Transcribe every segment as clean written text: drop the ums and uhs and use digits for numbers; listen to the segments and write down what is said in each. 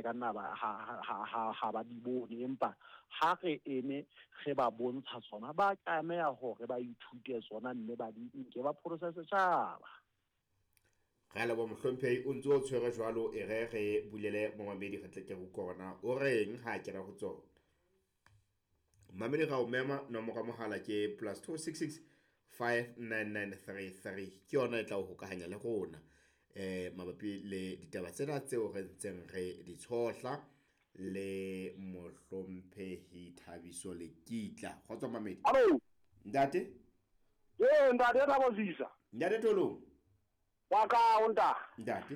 ka nna ba ha ha ha ha ba di bone, empa ha re eme re ba bontsha tsona, ba tlameha hore ba ithute tsona mme ba di nke ba pholose setjhaba. Re a leboha mohlomphehi, o ntse o tshwere jwalo e re re bulele momamedi re tle ke re utlwe hore na o reng ha a kena ho tsona. Mamedi ra o mema nomoro ya mohala ke plus 266 59933 ke yona e tla o hokahanya le rona eh mabapi le ditaba tsena tseo re ntseng re di tshohla le mohlomphehi Thabiso Lekitla. Kgotso mamedi. Hallo. Ntate. Ee, ntate Thabo Sisa. Ntate Tolong. Wa ka o nta. Ntate.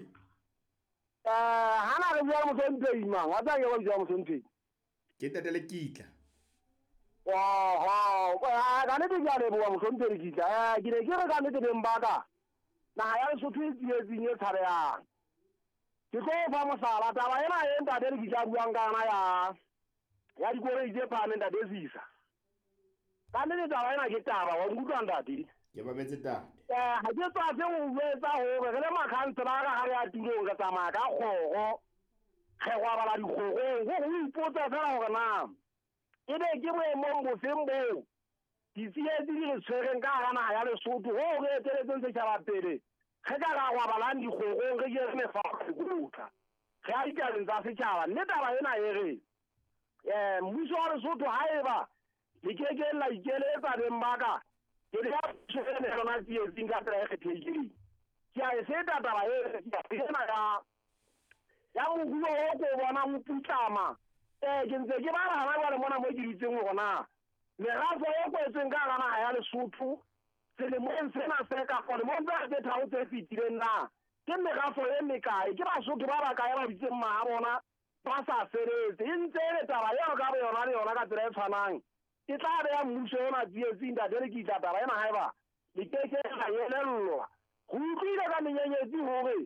Eh, hana re bua le mohlomphehi mang? Wa tsaya ke ba bitsa mohlomphehi. Ke ntate Lekitla. Oho, eh, ka nnete ke a leboha mohlomphehi Lekitla. Eh, ke ne ke re ka nnete beng ba ka. Naha ya Lesotho e tsietsing e tshabehang. Ke tlo o fa mohlala, taba ena e ntate Lekitla a buang ka yona ya ya dikoloi tse phahameng ntate Sisa. Ka nnete taba ena ke taba, wa nkutlwa ntate? Ke mametse ntate. Eh, ha ke tswafe ho jwetsa hore re le makhanselara ha re ya tulong re tsamaya ka kgoro, re robala dikgorong, hore o ipotse fela hore na ebe ke boemong bofeng boo ditsietsi di re tshwereng ka hara naha ya Lesotho hoo re eteletseng setjhaba pele re ka ra robalang dikgorong re jere mefao ka mekotla re ya ditabeng tsa setjhaba mme taba ena e re um mmuso wa Lesotho haeba le ke ke la ikeletsa beng ba ka ke le ya puso ena ya lona tsietsing ka tsela e kgethehileng ke a e feta taba e ena ya ya moruo o ko bonang o putlama um ke ntse ke bala hana jwale mona mo ke dutseng hore na merafo e kwetsweng ka hara naha ya Lesotho selemong sena se kapa lemong tsena tse tharo tse fetileng na ke merafo e mekae, ke Basotho ba bakae ba dutseng maha bona ba sa sebetse. E ntse e le taba eo ka boyona le yona ka tsela e tshwanang e tla beha mmuso ona tsietsing. Ntate Lekitla, taba ena haeba le ke ke la elellwa, re utlwile ka menyenyetsi hore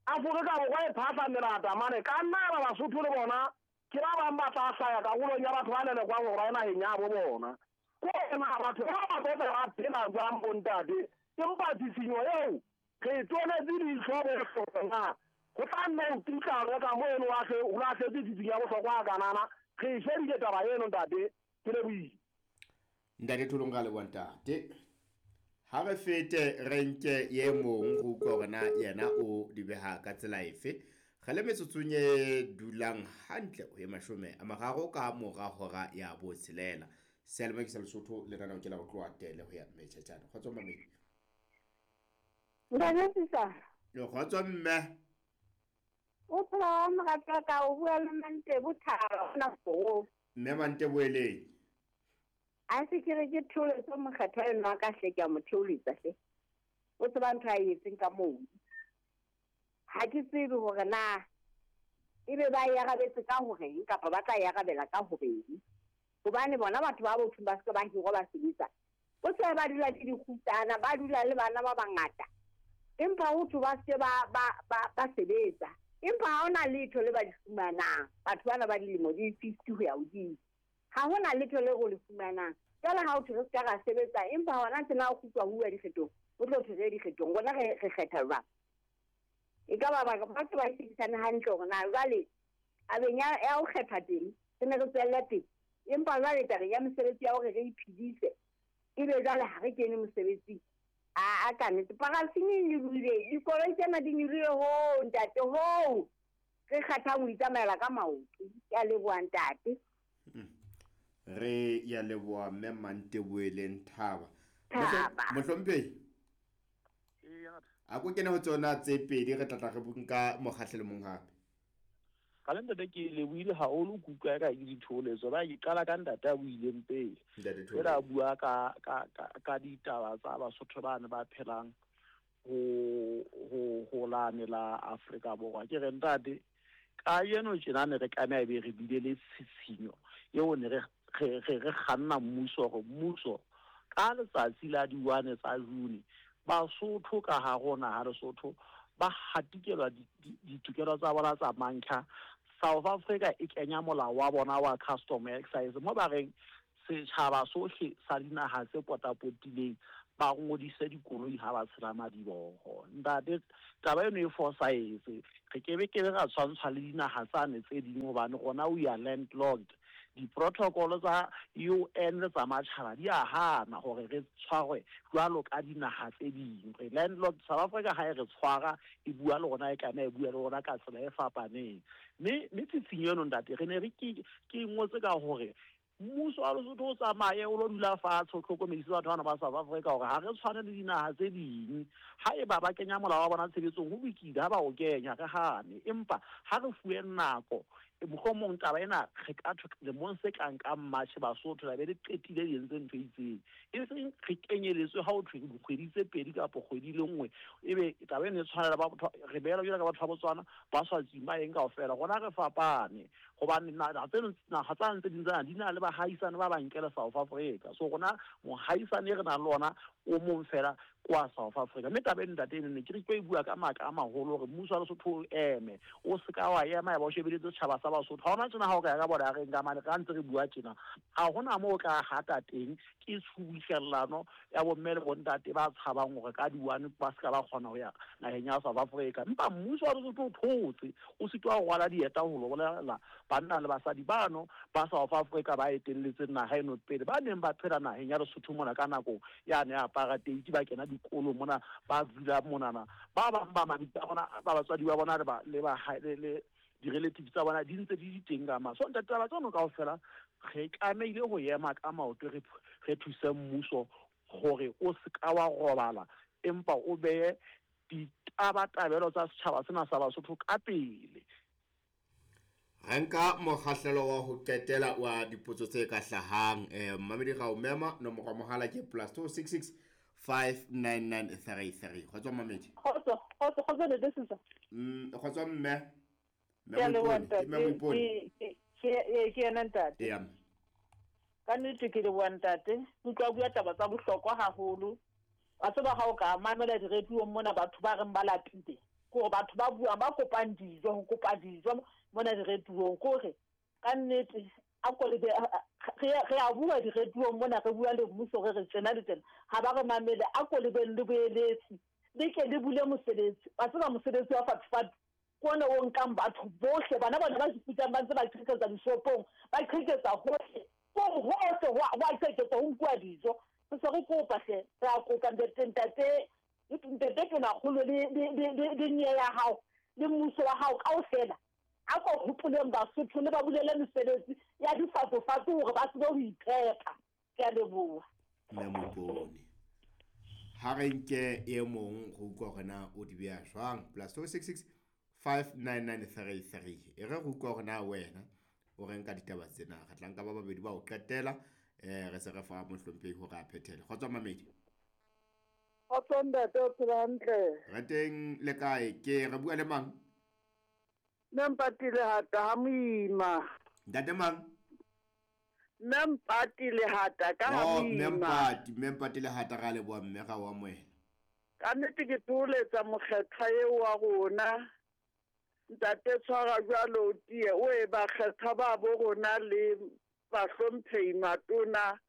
Afrika Borwa e phahla melata mane ka nna ba Basotho le bona ke ba bang ba tla hlaya karolong ya batho ba lelekwang hore ba ye naheng ya bo bona. Ko na batho ba ba tlo ba phela jwang bontate? Empa tshisinyo eo re e tonetse leihlo bohle na ho tla nna ho putlame ka mo eno o lahletse tsitsinyo ya bohlokwa a kanana. Re e shebile taba eno ntate, ke lebohile. Ntate Tholong ra leboha ntate. Ha re fete re nke ye mong go utlwa hore na yena o di beha ka tsela efe. Re le metsotsong e dulang hantle ho ye 30 ka mora hora ya botshelela. Seyalemoya ke sa Lesotho lenaneo ke la ho tloha tele ho ya Mmetjhetjhane. Kgotso mamedi. Ntate Sisa. Kgotso mme. O phela wa moratwa ka o bua le Mantebo Thaba ona go. Mme Mantebo eleng. A se ke re ke theoletse mokgethwa enwa ka hle ke a mo theoletsa hle. O tseba ntho a e etseng ka moo. Ha ke tsebe hore na ebe ba e arabetse ka horeng kapa ba tla e arabela ka horeng. Hobane bona batho ba botho ba se ba hirwa ba sebetsa. O se ba dula le dikgutsana, ba dula le bana ba bangata. Empa ho thwe ba se ba ba ba ba sebetsa. Empa ha hona letho le ba di fumanang. Batho bana ba dilemo di 50 ho ya hodimo. Ha hona letho le re le fumanang. Jwale ha ho thwe re se ka ra sebetsa, empa hona tjena o kgutlwa ho uwa dikgethong, o tlo thwe re ye dikgethong. Rona re re kgetha jwang? E ka ba ba ba se ba shebisane hantle hore na jwale tabeng ya ya ho kgetha teng re ne re tswelle pele. Empa jwale tabeng ya mesebetsi ya hore re iphedise ebe jwale ha re kene mosebetsing. A ka nnete parafini e nyolohile, dikoloi tsena di nyolohile hoo ntate hoo re kgathang ho itsamaela ka maoto. Ke a leboha ntate. Re ya leboha mme Manteboeleng Thaba. Thaba. Mohlomphehi. A ko kene ho tsona tse pedi re tlatla re nka mokgahlelo mong hape. Ka le ntate ke lebohile haholo ke utlwa eka ke ditholetso ba ke qala ka ntate a buileng pele. Ela a bua ka ka ka ka ditaba tsa Basotho ba ne ba phelang ho ho ho lane la Afrika Borwa. Ke re ntate kajeno tjena ne re tlameha ebe re bile le tshitshinyo eo ne re re re re kganna mmuso hore mmuso ka letsatsi la di-1 tsa June Basotho ka hare ho naha Lesotho ba hatikelwa ditokelo tsa bona tsa mantlha. South Africa e kenya molao wa bona wa custom excise mo ba reng setjhaba sohle sa dinaha tse potapotileng ba ngodise dikoloi ha ba tshela madiboho. Ntate, taba eno e fosahetse. Re kebe kebe ra tshwantshwa le dinaha tsane tse ding hobane rona we are landlocked. Diprotocol tsa UN le tsa matjhaba di a hana hore re tshwarwe jwalo ka dinaha tse ding. Re landlocked. South Africa ha e re tshwara e bua le rona, e kana e bua le rona ka tsela e fapaneng. Mme tshitshinyo eno ntate, re ne re ke ngotse ka hore mmuso wa Lesotho o tsamaye o lo dula fatshe, o hlokomedise batho bana ba South Africa hore ha re tshwane le dinaha tse ding. Haeba ba kenya molao wa bona tshebetsong, ho lokile ha ba o kenya, re hane. Empa ha re fuwe nako, mohlomong taba ena re ka thwe lemong se tlang ka March Basotho la be le qetile le entse ntho e itseng. E seng re kenyeletswe ha ho thwe dikgwedi tse pedi kapa kgwedi le nngwe, ebe taba eno e tshwanela ba re beela jwalo ka batho ba Botswana, ba Swaziland, ba eng kaofela. Rona re fapane hobane naha tseno, naha tsane tse ding tsena di na le bahaisane ba ba nkele South Africa. So rona mohaisane e re nang le ona o mong fela kwa South Africa. Mme taba eno ntate eno ne ke re tlo e bua ka matla a maholo hore mmuso wa Lesotho o eme, o se ka wa ema ya ba o shebeletse setjhaba sa Basotho. Ha hona tjena ha o ka ya ka bona reng ka mane, ra ntse re bua tjena, ha hona moo o tla hata teng. Ke tshubuhlellano ya bomme le bontate ba tshabang hore ka di-one ba se ka ba kgona ho ya naheng ya South Africa. Empa mmuso wa Lesotho o thotse, o sitwa ho rwala dieta ho lo bolella banna le basadi bano ba South Africa ba etelletseng naha eno pele, ba neng ba phela naheng ya Lesotho mona ka nako yane ya apartheid, ba kena dikolo mona, ba dula monana. Ba bang ba mabitso a bona, ba batswadi ba bona le ba le di-relatives tsa bona di ntse di di teng ka ma. So ntate, taba tseno kaofela re tlamehile ho ema ka maoto, re thuse mmuso hore o se ka wa robala, empa o behe ditabatabelo tsa setjhaba sena sa Basotho ka pele. Re nka mokgahlelo wa ho qetela wa dipotso tse ka hlahang. Mmamedi ra o mema, nomoro ya mohala ke +266 599 33. Kgotso mmamedi. Kgotso, kgotso, kgotso ntate Susa. Kgotso mme. Mme Ke a leboha Moipone, ke mme ntate. Moipone. Ke yena ntate. Eya, mme. Ka nnete ke leboha ntate. Ke utlwa bua taba tsa bohlokwa haholo. Wa tseba ha o ka mamela diradiong mona batho ba reng ba lapile, ke hore batho ba buang ba kopang dijo, ho kopa dijo mona diradiong, ke hore ka nnete a ko le be, re a bua diradiong mona, re bua le mmuso, re re tjena le tjena, ha ba re mamele. A ko le beng le boeletsi, le ke le bule mosebetsi. Wa tseba mosebetsi wa fatfat ke ona o nkang batho bohle, bana bona ba ipitsang ba ntse ba qheketsa dishopong, ba qheketsa hohle, ke hore hohle ho a qheketswa, ho nkuwa dijo. Re se re kopa hle, re a kopa ntate, ntate, ntate Tonakgolo le nye ya hao le mmuso wa hao kaofela, a ko hopoleng Basotho le ba bulele mesebetsi ya difatsofatso hore ba tsebe ho iphepa. Ke a leboha. Mme Moipone, ha re nke e mong go utlwa hore na o di beha jwang. +266 599 33. E re go utlwa hore na wena o reng ka ditaba tsena. Re tla nka ba babedi ba ho qetela, re se re fa mohlomphehi hore a phethele. Kgotso mamedi. Kgotso ntate, o phela hantle? Re teng le kae? Ke re bua le mang? Mme Mpati Lehata ha Moima. Ntate mang? Mme Mpati Lehata ka ha Oh, Mme Moima. Mpati, Mme Mpati Lehata, ra leboha mme ra o amohela. Ka nnete ke thoholetsa mokgethwa eo wa rona. Ntate tshwara jwalo o tiye, o e bakgethwa ba bo rona le bahlomphehi matona.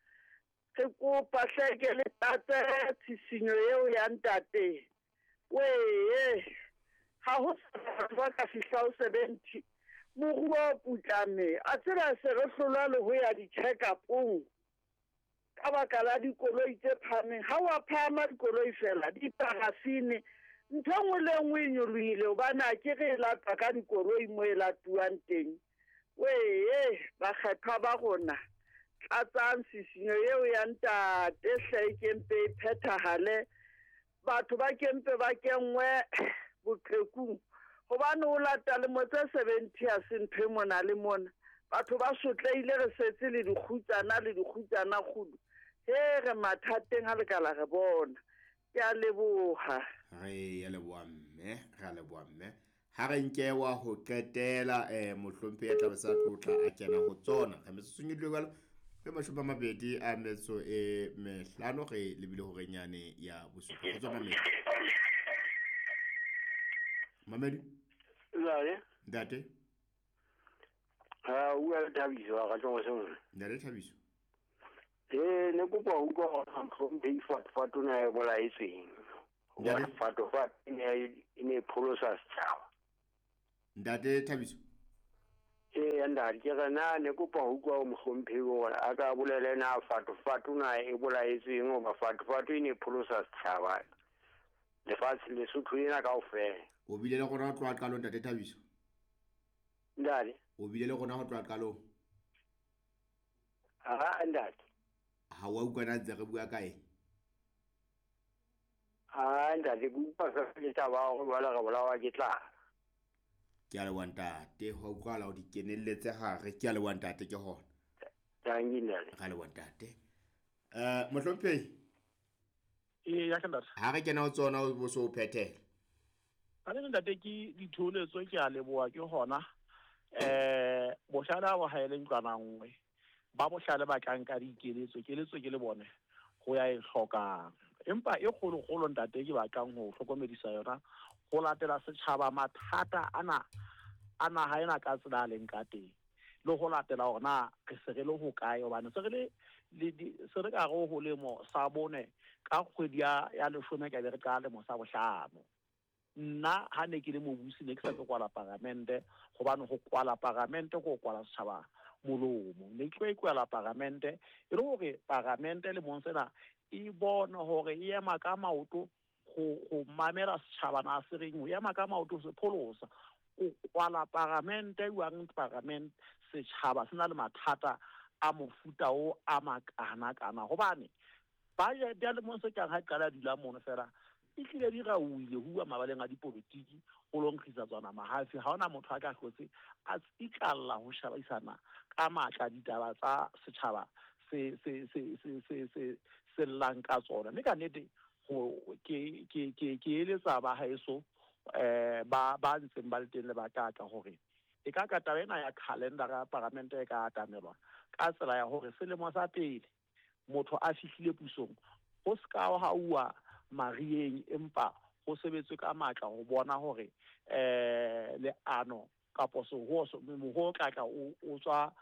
Re kopa hleke le tlatse tshisinyo eo ya ntate. Wee, ha ho sa batho ba ka fihla ho 70. Moruo o putlame. A tseba se re hlolwa le ho ya di-check-up-ong ka baka la dikoloi tse phahameng. Ha wa phahama dikoloi fela, diparafine, ntho e nngwe le e nngwe e nyolohile hobane ha ke re e latwa ka dikoloi mo e latuwang teng. Wee, bakgethwa ba rona, tlatsang tshisinyo eo ya ntate hle e kempe e phethahale. Batho ba kempe ba kenngwe boqhekung hobane o lata lemo tse 70 ha se ntho e mona le mona. Batho ba sotlehile, re setse le dikgutsana le dikgutsana kgudu. He re mathateng ha le ka la re bona. Ke a leboha. Re a leboha mme, re a leboha mme. Ha re nke wa ho qetela, mohlomphehi ya tlabe sa tlotla a kena ho tsona. Re metsotsong e dule jwalo, e 25 re lebile horeng yane ya bosupa. Kgotso mamedi. Mamedi? Ntate. Ntate. Ha, o bua le Thabiso, wa ka tloha sengwe. Ntate Thabiso. Ne kopa ho utlwa hore mohlomphehi Fatofat o ne a e bolaetsweng. Ntate? Hobane Fatofat e ne e pholosa setjhaba. Ntate Thabiso. Ee, ntate, ke re na ne kopa ho utlwa ho mohlomphehi hore a ka bolele na Fatofat o na e bolaetsweng, hoba Fatofat e ne e pholosa setjhaba lefatshe Lesotho ena kaofela. O bile le rona ho tloha qalong, Ntate Thabiso? Ntate? O bile le rona ho tloha qalong? Ha, ntate. Ha wa utlwa na ntse re bua ka eng? Ha, ntate, ke utlwa fela ke taba ya hore jwale re bolawa ke tlala. Ke a leboha ntate, ho utlwahala o di kenelletse hare. Ke a leboha ntate, ke hona. Thank you, ntate. Ra leboha ntate. Mohlomphehi. Ee, ya ke ntate. Ha re kena ho tsona o bo so o phethela. Ka le ntate ke ditholetso, ke a leboha ke hona. Bohlale ha bo haele ntlwana nngwe. Ba bohlale ba tla nka dikeletso, keletso ke le bone ho ya e hlokang. Empa e kgolokgolo ntate ke batlang ho hlokomedisa yona ho latela setjhaba mathata ana a naha ena ka tsela a leng ka teng, le ho latela hore na re se re le hokae, hobane se re le, le di, se re ka re ho lemo sa bone ka kgwedi ya leshome ka be re qala lemo sa bohlano. Nna ha ne ke le mobusi ne ke sa tlo kwala paramente, hobane ho kwala paramente ke ho kwala setjhaba molomo. Ne ke tlo e kwala paramente e le hore paramente lemong sena e bone hore e ema ka maoto ho mamela setjhaba na se reng, ho ema ka maoto ho se pholosa. O kwala paramente jwang paramente setjhaba se na le mathata a mofuta o a makana-kana, hobane budget ya lemong se tlang ha e qala dula mono fela e tlile di rauhile ho bua mabaleng a dipolotiki, ho lo nkgisa tsona mahafi. Ha hona motho a ka hlotse a tsitlalla ho shebisana ka matla ditaba tsa setjhaba se llang ka tsona. Mme ka nnete ke eletsa ba haeso, ba ntseng ba le teng le ba tla tla hore e ka ka taba ena ya calendar ya paramente e ka atamelwa ka tsela ya hore selemo sa pele motho a fihlile pusong ho se ka ha uwa marieng, empa ho sebetswe ka matla ho bona hore leano kapo sehoho moho o tla tla o tswa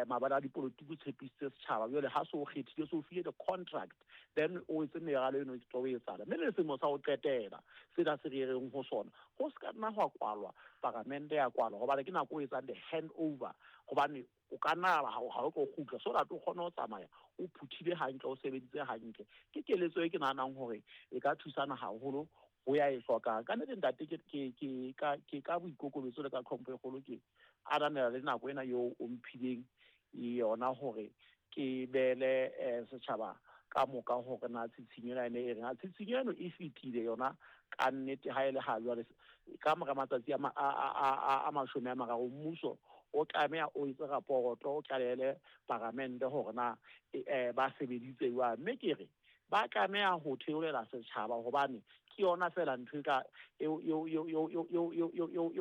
mabala a dipolotiki o tshepisitse setjhaba. Jwale ha se o kgethile, se o file the contract, then o etse meralo eno e tlo etsahala. Mme le selemo sa ho qetela sena se re reng ho sona, ho se ka nna hwa kwalwa paramente ya kwalwa, hobane ke nako o etsang the hand over, hobane o ka nna ha o tlo kgutla, so that o kgone ho tsamaya o phuthile hantle, o sebeditse hantle. Ke keletso e ke nahanang hore e ka thusana haholo ho ya e hlokang. Ka nnete ntate, ke ka boikokobetso le ka tlhompho e kgolo ke ananela le nako ena eo o mphileng yona hore ke beele setjhaba ka moka hore na tshitshinyo ena e ne e reng. Tshitshinyo eno e fetile yona ka nnete ha e le ha jwale ka mora matsatsi a 30 mmuso o tlameha o etse raporoto, o tlalehele paramente hore na ba sebeditse jwang. Mme ke re ba tlameha ho theolela setjhaba, hobane ke yona feela ntho e ka eo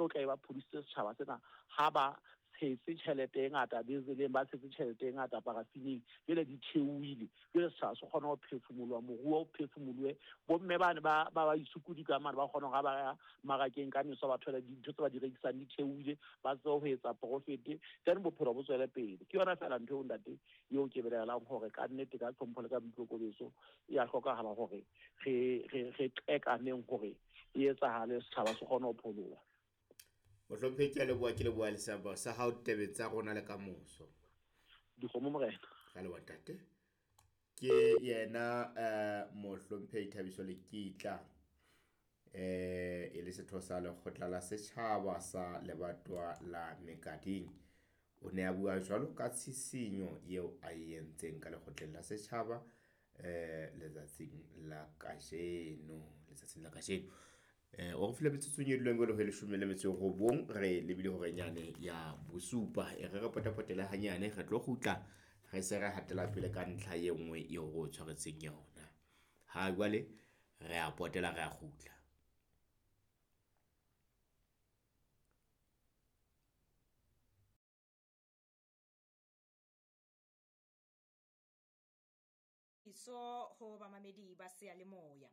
tla e ba phodisitse setjhaba sena ha ba tshetse tjhelete e ngata dieseleng, ba tshetse tjhelete e ngata parafineng, jwale di theohile, jwale setjhaba se kgona ho phefumoloha, moruo o phefumolohe, bomme bane ba isukudi ka mane ba kgona hore ha ba ya mmarakeng ka meso ba thole dintho tse ba di rekisang di theohile, ba tsebe ho etsa profit, then bophelo bo tswele pele. Ke yona feela ntho eo ntate eo ke belaelang hore ka nnete ka tlhompho le ka boikokobetso e a hlokahala hore re qekaneng hore e etsahale, setjhaba se kgone ho pholoha. Mohlomphehi, ke a leboha, ke leboha le seabo sa hao tabeng tsa rona le kamoso. Dikgomo morena. Ka leboha ntate. Ke yena mohlomphehi Thabiso Lekitla, e le setho sa lekgotla la setjhaba sa lebatowa la Mekading. O ne a bua jwalo ka tshisinyo eo a e entseng ka lekgotleng la setjhaba letsatsing la kajeno, letsatsing la kajeno. O re file metsotsong e dulang jwalo ho 19, re lebile hore nyane ya bosupa. E re re potapotele hanyane, re tlo kgutla re se re hatela pele ka ntlha e nngwe eo re o tshwaretseng yona. Ha jwale re a potela, re a kgutla. So ho bamamedi ba seyalemoya.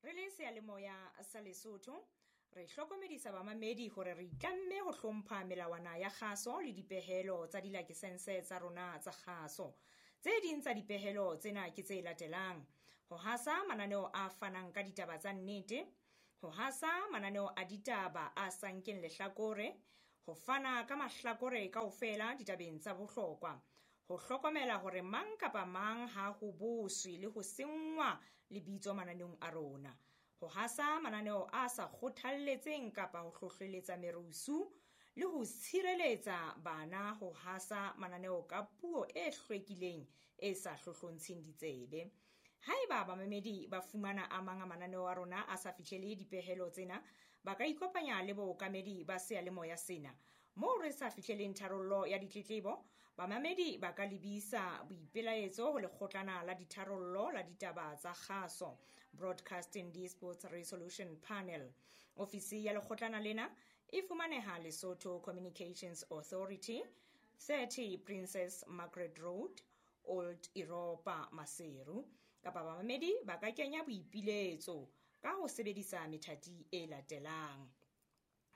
Re le seyalemoya sa Lesotho, re hlokomedisa bamamedi hore re itlamme ho hlompha melawana ya kgaso le dipehelo tsa dilakesense tsa rona tsa kgaso. Tse ding tsa dipehelo tsena ke tse latelang: ho hasa mananeo a fanang ka ditaba tsa nnete, ho hasa mananeo a ditaba a sa nkeng lehlakore, ho fana ka mahlakore kaofela ditabeng tsa bohlokwa, ho hlokomela hore mang kapa mang ha ho boswe le ho senngwa lebitso mananeong a rona, ho hasa mananeo a sa kgothalletseng kapa ho hlohleletsa merusu, le ho tshireletsa bana ho hasa mananeo ka puo e hlwekileng e sa hlohlontsheng ditsebe. Haeba bamamedi ba fumana a mang a mananeo a rona a sa fihlele dipehelo tsena, ba ka ikopanya le bookamedi ba seyalemoya sena. Moo re sa fihleleng tharollo ya ditletlebo, bamamedi ba ka lebisa boipelaetso ho lekgotlana la ditharollo la ditaba tsa kgaso, Broadcasting Disputes Resolution Panel. Ofisi ya lekgotlana lena e fumaneha Lesotho Communications Authority, 30 Princess Margaret Road, Old Europa, Maseru. Kapa bamamedi ba ka kenya boipiletso ka ho sebedisa methati e latelang: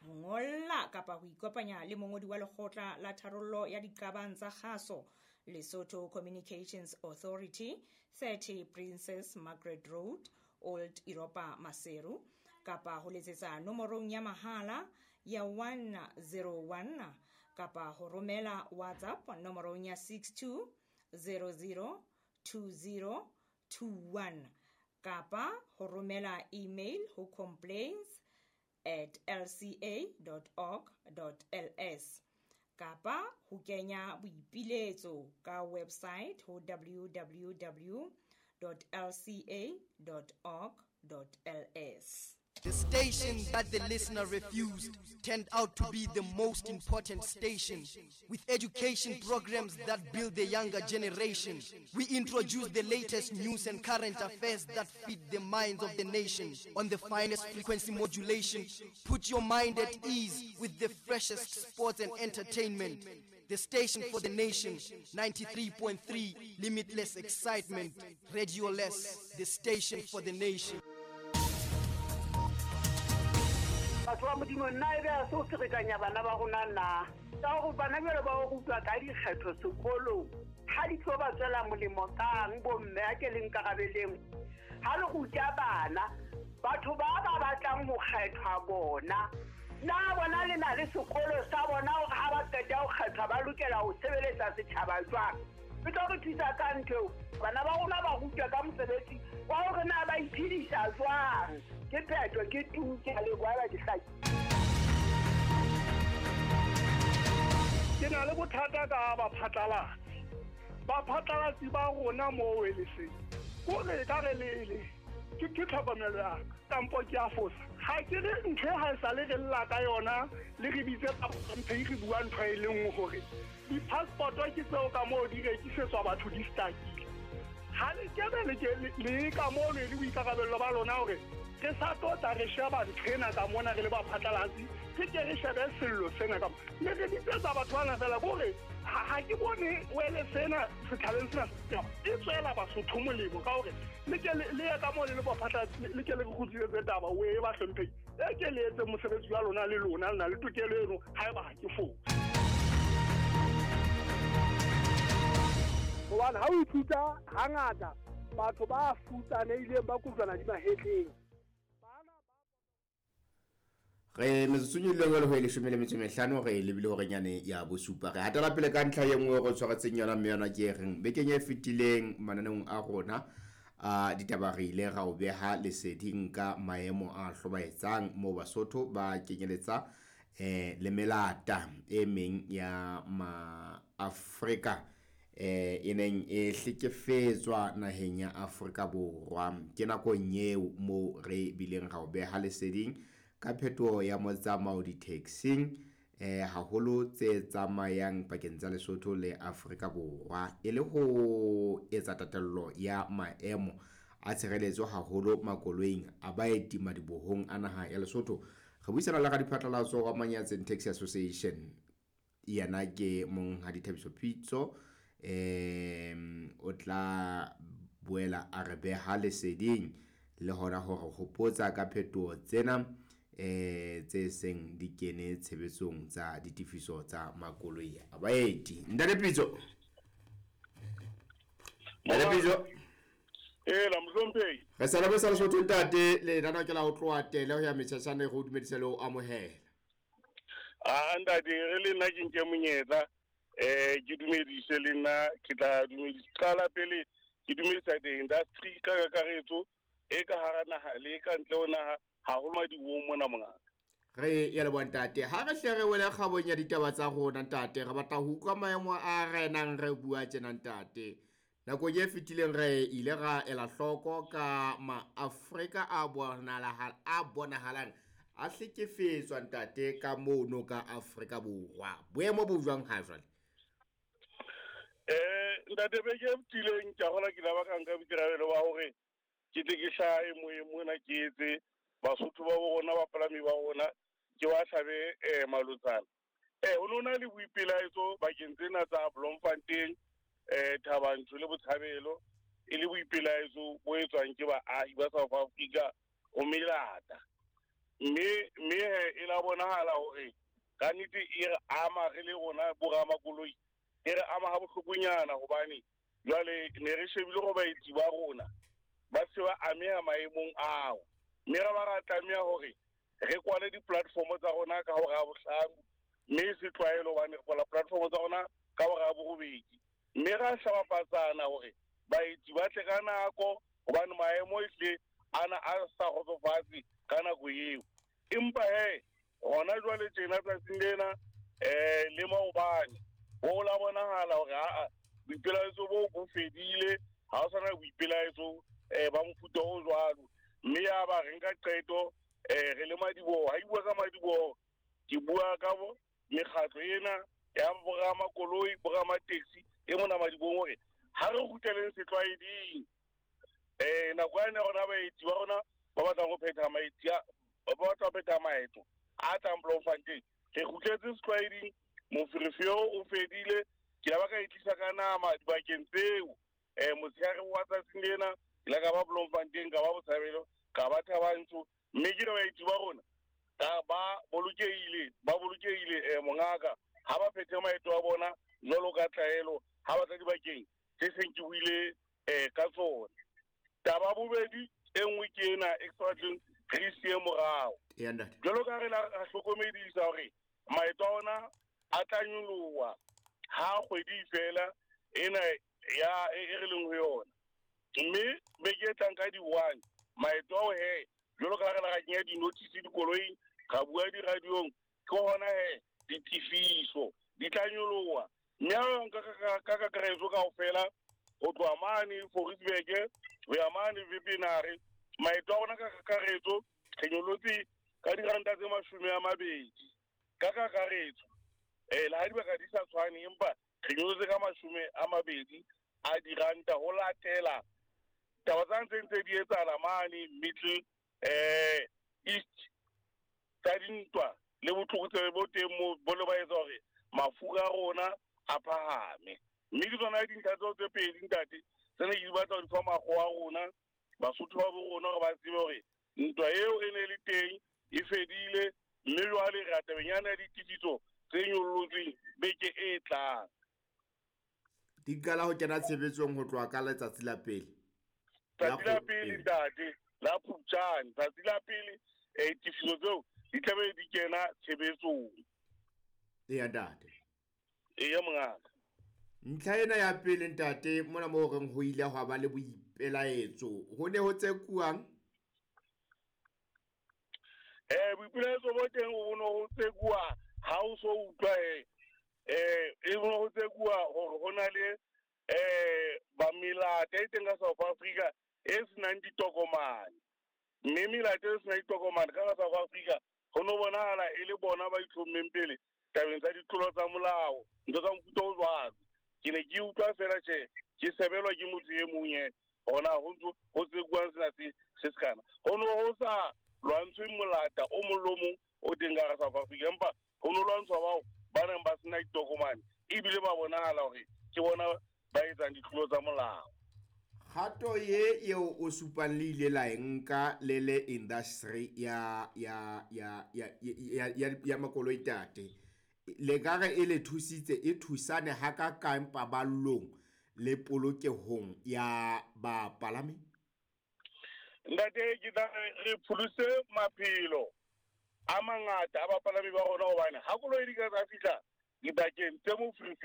ho ngolla kapa ho ikopanya le mongodi wa lekgotla la tharollo ya diqabang tsa kgaso, Lesotho Communications Authority, 30 Princess Margaret Road, Old Europa, Maseru, kapa ho letsetsa nomorong ya mahala ya 101, kapa ho romela WhatsApp nomorong ya 62 00 20 21, kapa ho romela email ho complaints@lca.org.ls, kapa ho kenya boipiletso ka website ho www.lca.org.ls. The station that the listener refused turned out to be the most important station. With education programs that build the younger generation, we introduce the latest news and current affairs that feed the minds of the nation. On the finest frequency modulation, put your mind at ease with the freshest sports and entertainment. The station for the nation, 93.3, limitless excitement. Radio Less, the station for the nation. Batho ba Modimo, nna e be a se o ferekanya bana ba rona na? Ka gore bana jalo ba o rutwa ka dikgetho sekolong, ga di tlo ba tswela molemo kang bomme? A ke le nkarabeleng. Ga le ruta bana, batho ba ba batlang ho kgethwa bona, na bona le na le sekolo sa bona hore ha ba qeta ho kgethwa ba lokela ho sebeletsa setjhaba jwang? E tlo re thusa ka ntho eo. Bana ba rona ba rutwa ka mosebetsi wa hore na ba iphedisa jwang. Ke phetho, ke tu, ke a leboha ba ke hlaki. Ke na le bothata ka baphatlalatsi. Baphatlalatsi ba rona mo weleseng, kore ka re lele ke tlhokomelo ya ka, kampo ke a fosa. Ha ke re ntho e ha e sale re lla ka yona, le re bitse mphe re bua ntho e le nngwe hore di-passport-o ke tseo ka moo di rekisetswa batho di stakile. Ha le kebe le ka mono e le boikarabello ba lona hore re sa tlo tla re sheba ntho ena ka mona re le baphatlalatsi, re ke re shebe sello sena ka mona. Le re bitsetsa batho bana fela kore ha ke bone wele sena setjhabeng sena e tswela Basotho molemo ka hore le ke le ye ka moo le le baphatlalatsi, le ke le re kgutlisetse taba o e ba hlomphehile. E ke le etse mosebetsi wa lona, le lona le na le tokelo eno haeba ha ke fose. Hobane ha o ithuta hangata batho ba futsanehileng ba kojwana di mahetleng. Re metsotsong e leng ho e 15 re lebile hore nyane ya bosupa. Re hatela pele ka ntlha e nngwe re tshwaretseng yona, mme yona ke e reng bekeng e fetileng mananeong a rona a ditaba re ile ra o beha leseding ka maemo a hlobaetsang moo Basotho ba kenyeletsa le melata e meng ya Maafrika e neng e hlekefetswa naheng ya Afrika Borwa. Ke nakong eo moo re bileng ra o beha leseding ka phetoho ya motsamao di-taxing, haholo tse tsamayang pakeng tsa Lesotho le Afrika Borwa, e le ho etsa tatello ya maemo a tshireletso haholo makoloing a baeti madibohong a naha ya Lesotho. Re buisana le radiphatlalatso wa Manyatseng Taxi Association, yena ke Monghadi Thabiso Pitso. O tla boela a re beha leseding le hona hore hopotsa ka phetoho tsena tse seng di kene tshebetsong tsa ditefiso tsa makoloi a baeti. Ntate Pitso. Ntate Bizo. Ela mohlomphehi. Re sa leboha Lesotho ntate, lenaneo ke la ho tloha tele ho ya metjhatjhane re o dumedise le ho amohela. A ntate re le nna ke nke monyetla ke dumedise le nna ke tla dumedisa qala pele ke dumedisa di-industry ka kakaretso e ka hara naha le ka ntle ho naha haholo madibohong mona mongaka. Re ya leboha ntate. Ha re hle re wele kgabong ya ditaba tsa rona ntate, re batla ho utlwa maemo a renang re bua tjena ntate. Nakong e fetileng re ile ra ela hloko ka maAfrika a bonahalang a hlekefetswa ntate ka mono ka Afrika Borwa. Boemo bo jwang ha jwale? Ntate beke e fetileng ke a gola ke la ba ka nka boikarabelo ba hore ke tle ke hlahe moyeng mona ke etse Basotho ba bo rona bapalami ba rona ke ba hlabe malotsana. Ho no na le boipelaetso bakeng tsena tsa Bloemfontein, Thabanchu le Botshabelo, e le boipelaetso bo etswang ke baahi ba South Africa ho melata. Mme e la bonahala hore ka nnete e re ama re le rona boramakoloi, e re ama ha bohlokonyana hobane jwale ne re shebile hore baetsi ba rona ba se ba ameha maemong ao. Mme ra ba ra tlameha hore re kwale di-platform tsa rona ka hora ya bohlano, mme e se tlwaelo hobane re kwala platform tsa rona ka hora ya borobedi. Mme ra hlabapatsana hore baetsi ba tle ka nako hobane maemo ehlile ana a sa kgotsofatse ka nako eo. Empa he hona jwale tjena tsatsing lena le maobane ho la bonahala hore aa boipelaetso bo bo fedile, ha ho sana boipelaetso ba mofuta o jwalo. Mme ya ba re nka qeto re le madiboho. Ha ke bua ka madiboho ke bua ka mekgatlo ena ya boramakoloi, boramateksi e mona madibohong hore ha re kgutleleng setlwaeding. Nako yane rona baetsi ba rona ba batlang ho phetha maetsi ba batla ho phetha maeto a tlang Bloemfontein, re kgutletse setlwaeding, moferefere o fedile. Ke la ba ka e tlisa ka nama dibakeng tseo. Motshehare wa tsatsing lena ke la ka ba Bloemfontein, ka ba Botshabelo, ka ba Thabanchu, mme ke re baetsi ba rona ba bolokehile mongaka ha ba phethe maeto a bona jwalo ka tlwaelo ha ba tla dibakeng tse seng ke buile ka tsona. Taba bobedi e nngwe ke ena e ke sa batleng re siye morao. Jwalo ka re la hlokomedisa hore maeto a ona a tla nyoloha ha kgwedi fela ena ya e re leng ho yona. Mme beke e tlang ka di-1 maeto ao he jwalo ka re la kenya di-notice dikoloing, ra bua di-radiong, ke hona he ditefiso di tla nyoloha. Mme ha nka ka kakaretso kaofela ho tloha mane Fouriesburg ho ya mane Wepener, maeto a rona ka kakaretso re nyollotse ka diranta tse 20 ka kakaretso. Le ha dibaka di sa tshwane, empa re nyollotse ka 20 a diranta ho latela taba tsa ntse di etsahala mane Middle East tsa dintwa le botlokotsebe bo teng moo bo le ba etsa hore mafura a rona a phahame. Mme ke tsona dintlha tseo tse pedi ntate tse ne ke di batla ho di fa makgowa a rona, Basotho ba bo rona, hore ba tsebe hore ntwa eo e ne le teng e fedile, mme jwale re tabeng yana ya ditefiso tse nyollotsweng beke e tlang. Di qala ho kena tshebetsong ho tloha ka letsatsi la pele. Tsatsi la pele ntate, la Phupjane, tsatsi la pele ditefiso tseo di tlabe di kena tshebetsong. Eya ntate. Eya mongaka. Ntlha ena ya pele ntate, mona moo reng ho ile hwa ba le boipelaetso, ho ne ho tsekuwang? Boipelaetso bo teng ho ne ho tsekuwa ha o so utlwa e ne ho tsekuwa hore ho na le ba melata e teng ka South Africa e senang ditokomane. Mme melata e senang ditokomane ka South Africa ho no bonahala e le bona ba itlhommeng pele tabeng tsa ditlolo tsa molao, ntho tsa mofuta o jwalo. Ke ne ke utlwa fela tjhe ke sebelwa ke motho e mong e hona ho ntso ho tsekuwang sena se sekana. Ho no ho sa lwantshwe molata o mong le o mong o teng ka hara South Africa, empa ho no lwantshwa bao ba neng ba sena ditokomane ebile ba bonahala hore ke bona ba etsang ditlolo tsa molao. Kgato ye eo o supang le ile la e nka le le industry ya makoloi tate, le ka re e le thusitse, e thusane hakakang paballong le polokehong ya bapalami? Ntate, ke tla re re pholose maphelo a mangata a bapalami ba rona, hobane ha koloi di ka tsa fihla dibakeng tse moferefere.